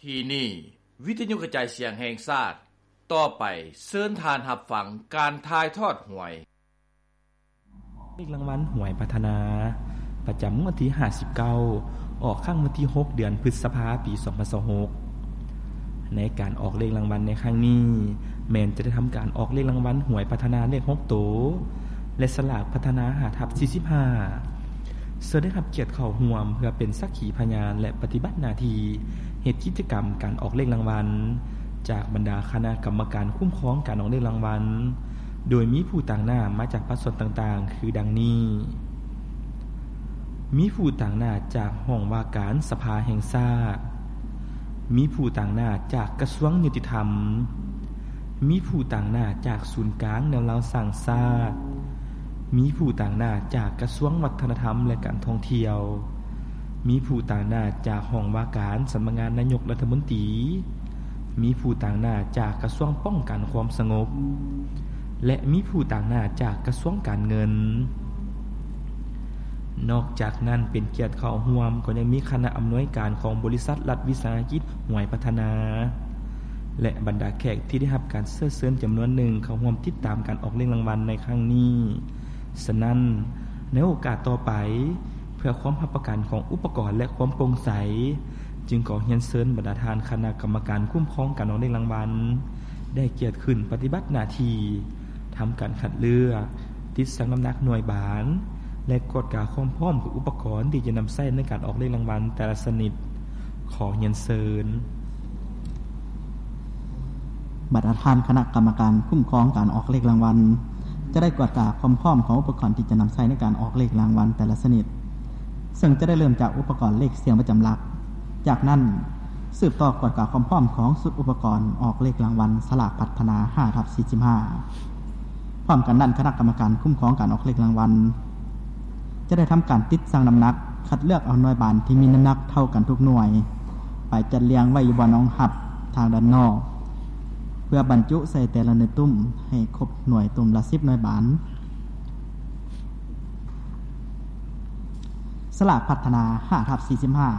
ທີ່ນີ້ ວິທະຍຸກະຈາຍສຽງແຫ່ງຊາດ, ຕໍ່ໄປເຊີນທ່ານຮັບຟັງການຖ່າຍທອດຫວຍ. ເລກລາງວັນຫວຍພັດທະນາ ປະຈຳງວດທີຫ້າສິບເກົ້າ ອອກຄັ້ງວັນທີຫົກ ເດືອນພຶດສະພາ ປີສອງພັນຊາວຫົກ. ໃນການອອກເລກລາງວັນໃນຄັ້ງນີ້ ແມ່ນຈະໄດ້ທຳການອອກເລກລາງວັນຫວຍພັດທະນາເລກຫົກໂຕ ແລະ ສະຫຼາກພັດທະນາຫ້າທັບສີ່ສິບຫ້າ ເຊິ່ງໄດ້ຮັບກຽດເຂົ້າຮ່ວມເພື່ອເປັນສັກຂີພະຍານ ແລະ ປະຕິບັດໜ້າທີ່ເຮັດກິດຈະກຳການອອກເລກລາງວັນ ຈາກບັນດາຄະນະກຳມະການຄຸ້ມຄອງການອອກເລກລາງວັນ, ໂດຍມີຜູ້ຕາງໜ້າມາຈາກພາກສ່ວນຕ່າງໆ ຄືດັ່ງນີ້: ມີຜູ້ຕາງໜ້າຈາກຫ້ອງວ່າການສະພາແຫ່ງຊາດ, ມີຜູ້ຕາງໜ້າຈາກກະຊວງຍຸຕິທຳ, ມີຜູ້ຕາງໜ້າຈາກສູນກາງແນວລາວສ້າງຊາດ, ມີຜູ້ຕາງໜ້າຈາກກະຊວງວັດທະນະທຳ ແລະ ການທ່ອງທ່ຽວ, ມີຜູ້ຕາງໜ້າຈາກຫ້ອງວ່າການສຳນັກງານນາຍົກລັດຖະມົນຕີ, ມີຜູ້ຕາງໜ້າຈາກກະຊວງປ້ອງກັນຄວາມສະຫງົບ ແລະ ມີຜູ້ຕາງໜ້າຈາກກະຊວງການເງິນ. ນອກຈາກນັ້ນ ເປັນກຽດເຂົ້າຮ່ວມກໍຍັງມີຄະນະອຳນວຍການຂອງບໍລິສັດລັດວິສາຫະກິດຫວຍພັດທະນາ ແລະ ບັນດາແຂກທີ່ໄດ້ຮັບການເຊື້ອເຊີນຈຳນວນໜຶ່ງເຂົ້າຮ່ວມຕິດຕາມການອອກເລກລາງວັນໃນຄັ້ງນີ້. ສະນັ້ນ, ໃນໂອກາດຕໍ່ໄປ, ເພື່ອຄວາມຮັບປະກັນຂອງອຸປະກອນ ແລະ ຄວາມໂປ່ງໃສ, ຈຶ່ງຂໍຮຽນເຊີນບັນດາທ່ານຄະນະກຳມະການຄຸ້ມຄອງການອອກເລກລາງວັນ ໄດ້ກຽດຂຶ້ນປະຕິບັດໜ້າທີ່ ທຳການຄັດເລືອກ, ຕິດຊັ່ງນ້ຳໜັກໜ່ວຍບານ ແລະ ກວດກາຄວາມພ້ອມຂອງອຸປະກອນທີ່ຈະນຳໃຊ້ໃນການອອກເລກລາງວັນແຕ່ລະຊະນິດ. ຂໍຮຽນເຊີນ. ບັນດາທ່ານຄະນະກຳມະການຄຸ້ມຄອງການອອກເລກລາງວັນ ຈະໄດ້ກວດກາຄວາມພ້ອມຂອງອຸປະກອນທີ່ຈະນຳໃຊ້ໃນການອອກເລກລາງວັນແຕ່ລະຊະນິດ, ເຊິ່ງຈະໄດ້ເລີ່ມຈາກອຸປະກອນເລກສຽງປະຈຳຫຼັກ. ຈາກນັ້ນ, ສືບຕໍ່ກວດກາຄວາມພ້ອມຂອງຊຸດອຸປະກອນອອກເລກລາງວັນສະຫຼາກພັດທະນາຫ້າທັບສີ່ສິບຫ້າ. ພ້ອມກັນນັ້ນ, ຄະນະກຳມະການຄຸ້ມຄອງການອອກເລກລາງວັນ ຈະໄດ້ທຳການຕິດຊັ່ງນ້ຳໜັກ, ຄັດເລືອກເອົາໜ່ວຍບານທີ່ມີນ້ຳໜັກເທົ່າກັນທຸກໜ່ວຍ ໄປຈັດລຽງໄວ້ຢູ່ບ່ອນຮອງຮັບທາງດ້ານນອກ ເພື່ອບັນຈຸໃສ່ແຕ່ລະໜ່ວຍຕຸ້ມໃຫ້ຄົບໜ່ວຍຕຸ້ມລະສິບໜ່ວຍບານ. ສະຫຼາກພັດທະນາຫ້າທັບສີ່ສິບຫ້າ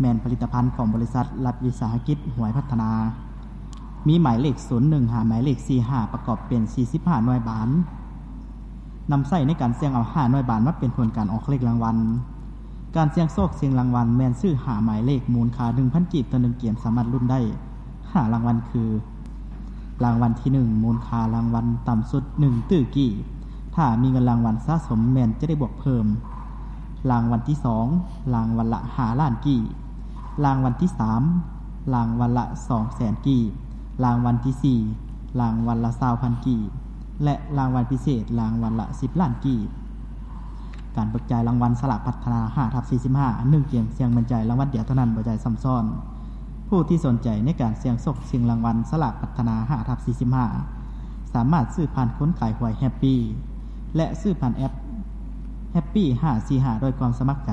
ແມ່ນຜະລິດຕະພັນຂອງບໍລິສັດລັດວິສາຫະກິດຫວຍພັດທະນາ, ມີໝາຍເລກສູນໜຶ່ງຫາໝາຍເລກສີ່ສິບຫ້າ ປະກອບເປັນສີ່ສິບຫ້າໜ່ວຍບານ, ນຳໃຊ້ໃນການສ່ຽງເອົາຫ້າໜ່ວຍບານມາເປັນຜົນການອອກເລກລາງວັນ. ການສ່ຽງໂຊກຊິງລາງວັນແມ່ນຊື້ຫ້າໝາຍເລກ ມູນຄ່າໜຶ່ງພັນກີບຕໍ່ໜຶ່ງເກມ ສາມາດລຸ້ນໄດ້ຫ້າລາງວັນຄື: ລາງວັນທີໜຶ່ງ ມູນຄ່າລາງວັນຕ່ຳສຸດໜຶ່ງຕື້ກີບ, ຖ້າມີເງິນລາງວັນສະສົມແມ່ນຈະໄດ້ບວກເພີ່ມ. ລາງວັນທີສອງ ລາງວັນລະຫ້າລ້ານກີບ, ລາງວັນທີສາມ ລາງວັນລະສອງແສນກີບ, ລາງວັນທີສີ່ ລາງວັນລະຊາວພັນກີບ ແລະ ລາງວັນພິເສດ ລາງວັນລະສິບລ້ານກີບ. ການເບີກຈ່າຍລາງວັນສະຫຼາກພັດທະນາຫ້າທັບສີ່ສິບຫ້າ ໜຶ່ງເກມສ່ຽງໝັ້ນໃຈລາງວັນດຽວເທົ່ານັ້ນ ບໍ່ຈ່າຍຊ້ຳຊ້ອນ. ຜູ້ທີ່ສົນໃຈໃນການສ່ຽງໂຊກຊິງລາງວັນສະຫຼາກພັດທະນາຫ້າທັບສີ່ສິບຫ້າ ສາມາດຊື້ຜ່ານຄົນຂາຍຫວຍແຮັບປີ ແລະ ຊື້ຜ່ານແອັບແຮັບປີຫ້າສີ່ຫ້າດ້ວຍຄວາມສະໝັກໃຈ.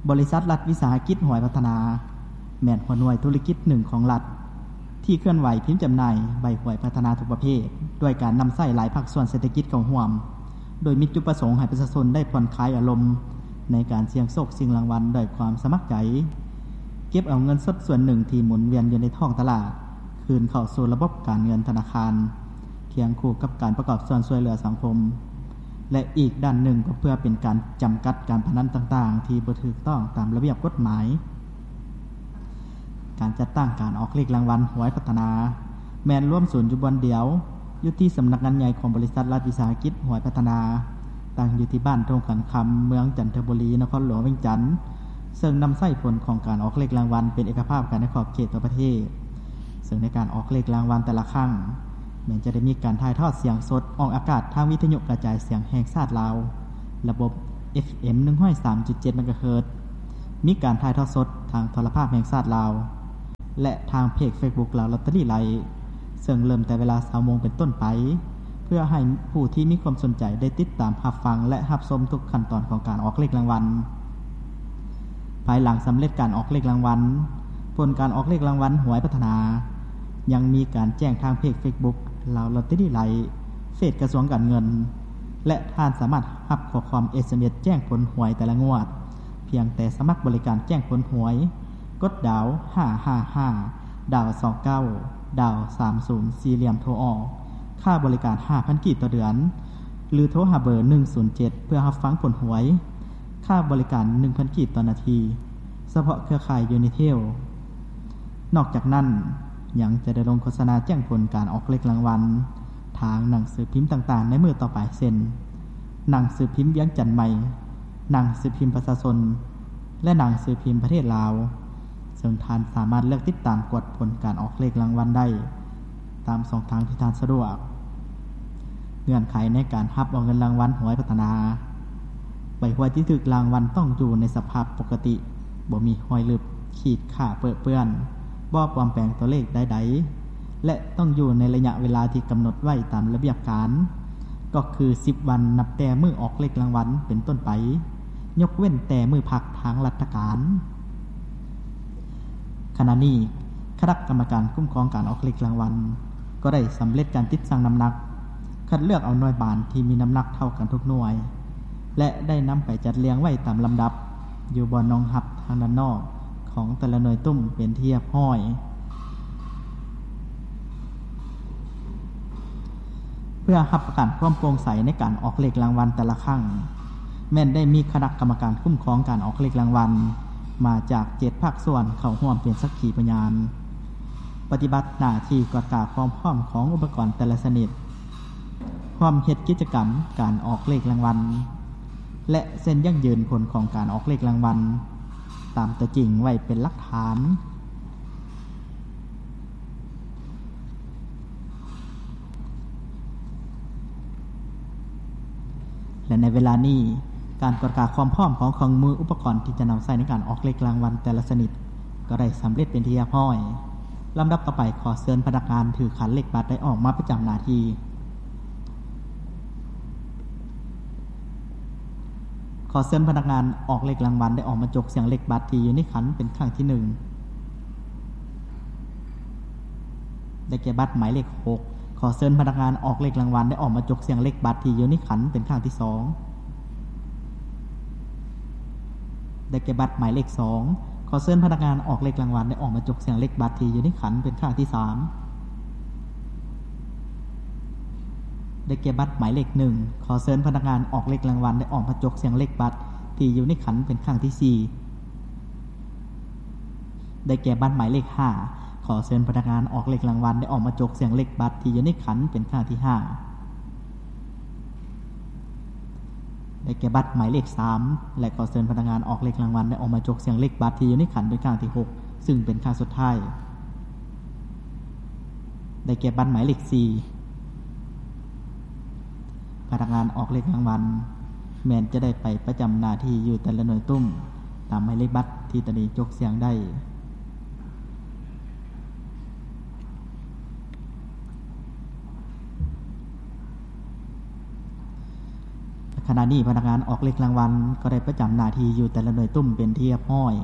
ບໍລິສັດລັດວິສາຫະກິດຫວຍພັດທະນາ ແມ່ນຫົວໜ່ວຍທຸລະກິດໜຶ່ງຂອງລັດ ທີ່ເຄື່ອນໄຫວພິມຈຳໜ່າຍໃບຫວຍພັດທະນາທຸກປະເພດ ດ້ວຍການນຳໃຊ້ຫຼາຍພາກສ່ວນເສດຖະກິດເຂົ້າຮ່ວມ, ໂດຍມີຈຸດປະສົງໃຫ້ປະຊາຊົນໄດ້ຜ່ອນຄາຍອາລົມໃນການສ່ຽງໂຊກຊິງລາງວັນດ້ວຍຄວາມສະໝັກໃຈ, ເກັບເອົາເງິນສົດສ່ວນໜຶ່ງທີ່ໝູນວຽນຢູ່ໃນທ້ອງຕະຫຼາດ ຄືນເຂົ້າສູ່ລະບົບການເງິນທະນາຄານ ຄຽງຄູ່ກັບການປະກອບສ່ວນຊ່ວຍເຫຼືອສັງຄົມ ແລະ ອີກດ້ານໜຶ່ງກໍເພື່ອເປັນການຈຳກັດການພະນັນຕ່າງໆ ທີ່ບໍ່ຖືກຕ້ອງຕາມລະບຽບກົດໝາຍ. ການຈັດຕັ້ງການອອກເລກລາງວັນຫວຍພັດທະນາ ແມ່ນລວມສູນຢູ່ບ່ອນດຽວ ຢູ່ທີ່ສຳນັກງານໃຫຍ່ຂອງບໍລິສັດລັດວິສາຫະກິດຫວຍພັດທະນາ, ຕັ້ງຢູ່ທີ່ບ້ານທົ່ງຂັນຄຳ ເມືອງຈັນທະບູລີ, ນະຄອນຫຼວງວຽງຈັນ, ເຊິ່ງນຳໃຊ້ຜົນຂອງການອອກເລກລາງວັນເປັນເອກະພາບກັນໃນຂອບເຂດທົ່ວປະເທດ. ເຊິ່ງໃນການອອກເລກລາງວັນແຕ່ລະຄັ້ງ ແມ່ນຈະໄດ້ມີການຖ່າຍທອດສຽງສົດອອກອາກາດທາງວິທະຍຸກະຈາຍສຽງແຫ່ງຊາດລາວ ລະບົບ ເອັຟເອັມ ໜຶ່ງຮ້ອຍສາມຈຸດເຈັດ ເມກາເຮີດ, ມີການຖ່າຍທອດສົດທາງໂທລະພາບແຫ່ງຊາດລາວ ແລະ ທາງເພຈເຟສບຸກລາວລອດເຕີຣີໄລ, ເຊິ່ງເລີ່ມແຕ່ເວລາຊາວໂມງເປັນຕົ້ນໄປ ເພື່ອໃຫ້ຜູ້ທີ່ມີຄວາມສົນໃຈໄດ້ຕິດຕາມຮັບຟັງ ແລະ ຮັບຊົມທຸກຂັ້ນຕອນຂອງການອອກເລກລາງວັນ. ພາຍຫຼັງສຳເລັດການອອກເລກລາງວັນ, ຜົນການອອກເລກລາງວັນຫວຍພັດທະນາ ຍັງມີການແຈ້ງທາງເພຈເຟສບຸກລາວລອດເຕີຣີໄລ, ເພຈກະຊວງການເງິນ, ເພ ແລະ ທ່ານສາມາດຮັບຂໍ້ຄວາມ ເອສເອັມເອສ ແຈ້ງຜົນຫວຍແຕ່ລະງວດ ພຽງແຕ່ສະໝັກບໍລິການແຈ້ງຜົນຫວຍ, ກົດດາວຫ້າຫ້າຫ້າ ດາວສອງເກົ້າ ດາວສາມສູນ ສີ່ຫຼ່ຽມໂທອອກ. ຄ່າບໍລິການຫ້າພັນກີບຕໍ່ເດືອນ ຫຼື ໂທຫາເບີໜຶ່ງສູນເຈັດ ເພື່ອຮັບຟັງຜົນຫວຍ. ຄ່າບໍລິການໜຶ່ງພັນກີບຕໍ່ນາທີ ສະເພາະເຄືອຂ່າຍ Unitel. ນອກຈາກນັ້ນ ຍັງຈະໄດ້ລົງໂຄສະນາແຈ້ງຜົນການອອກເລກລາງວັນ ທາງໜັງສືພິມຕ່າງໆໃນມື້ຕໍ່ໄປ ເຊັ່ນ ໜັງສືພິມວຽງຈັນໃໝ່, ໜັງສືພິມປະຊາຊົນ ແລະ ໜັງສືພິມປະເທດລາວ, ເຊິ່ງທ່ານສາມາດເລືອກຕິດຕາມກວດຜົນການອອກເລກລາງວັນໄດ້ຕາມຊ່ອງທາງທີ່ທ່ານສະດວກ. ເງື່ອນໄຂໃນການຮັບເອົາເງິນລາງວັນຫວຍພັດທະນາ ໃບຫວຍທີ່ຖືກລາງວັນຕ້ອງຢູ່ໃນສະພາບປົກກະຕິ, ບໍ່ມີຮອຍລຶບ, ຂີດຂ້າເປິເປື້ອນ, ບໍ່ປອມແປງຕົວເລກໃດໆ ແລະ ຕ້ອງຢູ່ໃນໄລຍະເວລາທີ່ກຳນົດໄວ້ຕາມລະບຽບການ, ກໍຄືສິບວັນນັບແຕ່ມື້ອອກເລກລາງວັນເປັນຕົ້ນໄປ, ຍົກເວັ້ນແຕ່ມື້ພັກທາງລັດຖະການ. ຂະນະນີ້ ຄະນະກຳມະການຄຸ້ມຄອງການອອກເລກລາງວັນ ກໍໄດ້ສຳເລັດການຕິດຊັ່ງນ້ຳໜັກ, ຄັດເລືອກເອົາໜ່ວຍບານທີ່ມີນ້ຳໜັກເທົ່າກັນທຸກໜ່ວຍ ແລະ ໄດ້ນຳໄປຈັດລຽງໄວ້ຕາມລຳດັບ ຢູ່ບ່ອນຮອງຮັບທາງດ້ານນອກຂອງແຕ່ລະໜ່ວຍຕຸ້ມເປັນທີ່ຮຽບຮ້ອຍ. ເພື່ອຮັບປະກັນຄວາມໂປ່ງໃສໃນການອອກເລກລາງວັນແຕ່ລະຄັ້ງ, ແມ່ນໄດ້ມີຄະນະກຳມະການຄຸ້ມຄອງການອອກເລກລາງວັນ ມາຈາກເຈັດພາກສ່ວນເຂົ້າຮ່ວມເປັນສັກຂີພະຍານ, ປະຕິບັດໜ້າທີ່ກວດກາຄວາມພ້ອມຂອງອຸປະກອນແຕ່ລະຊະນິດ, ຮ່ວມເຮັດກິດຈະກຳການອອກເລກລາງວັນ ແລະ ເຊັນຢັ້ງຢືນຜົນຂອງການອອກເລກລາງວັນ ຕາມຕົວຈິງໄວ້ເປັນຫຼັກຖານ. ແລະ ໃນເວລານີ້ ການກວດກາຄວາມພ້ອມຂອງເຄື່ອງມືອຸປະກອນທີ່ຈະນຳໃຊ້ໃນການອອກເລກລາງວັນແຕ່ລະຊະນິດ ກໍໄດ້ສຳເລັດເປັນທີ່ຮຽບຮ້ອຍ. ລຳດັບຕໍ່ໄປ ຂໍເຊີນພະນັກງານຖືຂັນເລກບັດໄດ້ອອກມາປະຈຳໜ້າທີ່. ຂໍເຊີນພະນັກງານອອກເລກລາງວັນໄດ້ອອກມາຈົກສ່ຽງເລກບັດທີ່ຢູ່ໃນຂັນເປັນຄັ້ງທີໜຶ່ງ. ໄດ້ແກ່ບັດໝາຍເລກຫົກ. ຂໍເຊີນພະນັກງານອອກເລກລາງວັນໄດ້ອອກມາຈົກສ່ຽງເລກບັດທີ່ຢູ່ໃນຂັນເປັນຄັ້ງທີສອງ. ໄດ້ແກ່ບັດໝາຍເລກສອງ. ຂໍເຊີນພະນັກງານອອກເລກລາງວັນໄດ້ອອກມາຈົກສ່ຽງເລກບັດທີ່ຢູ່ໃນຂັນເປັນຄັ້ງທີສາມ. ໄດ້ແກ່ບັດໝາຍເລກໜຶ່ງ. ຂໍເຊີນພະນັກງານອອກເລກລາງວັນໄດ້ອອກມາຈົກສ່ຽງເລກບັດທີ່ຢູ່ໃນຂັນເປັນຄັ້ງທີສີ່. ໄດ້ແກ່ບັດໝາຍເລກຫ້າ. ຂໍເຊີນພະນັກງານອອກເລກລາງວັນໄດ້ອອກມາຈົກສ່ຽງເລກບັດທີ່ຢູ່ໃນຂັນເປັນຄັ້ງທີຫ້າ. ໄດ້ແກ່ບັດໝາຍເລກສາມ ແລະ ຂໍເຊີນພະນັກງານອອກເລກລາງວັນໄດ້ອອກມາຈົກສ່ຽງເລກບັດທີ່ຢູ່ໃນຂັນເປັນຄັ້ງທີຫົກ ຊຶ່ງເປັນຄັ້ງສຸດທ້າຍ. ໄດ້ແກ່ບັດໝາຍເລກສີ່. ພະນັກງານອອກເລກລາງວັນແມ່ນຈະໄດ້ໄປປະຈຳໜ້າທີ່ຢູ່ແຕ່ລະໜ່ວຍຕຸ້ມຕາມໝາຍເລກບັດທີ່ຕະໜີຈົກສ່ຽງໄດ້. ຂະນະນີ້ພະນັກງານອອກເລກລາງວັນກໍໄດ້ປະຈຳໜ້າທີ່ຢູ່ແຕ່ລະໜ່ວຍຕຸ້ມເປັນທີ່ຮຽບຮ້ອຍ.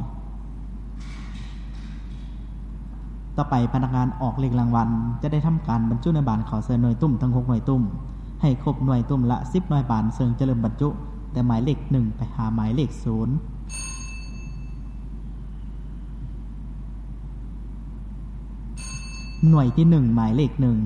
ຕໍ່ໄປພະນັກງານອອກເລກລາງວັນຈະໄດ້ທຳການບັນຈຸໜ່ວຍບານເຂົ້າໃສ່ໜ່ວຍຕຸ້ມທັງຫົກໜ່ວຍຕຸ້ມ ໃຫ້ຄົບໜ່ວຍຕຸ້ມລະສິບໜ່ວຍບານ ເຊິ່ງຈະເລີ່ມບັນຈຸແຕ່ໝາຍເລກໜຶ່ງໄປຫາໝາຍເລກສູນ. ໜ່ວຍທີໜຶ່ງ ໝາຍເລກໜຶ່ງ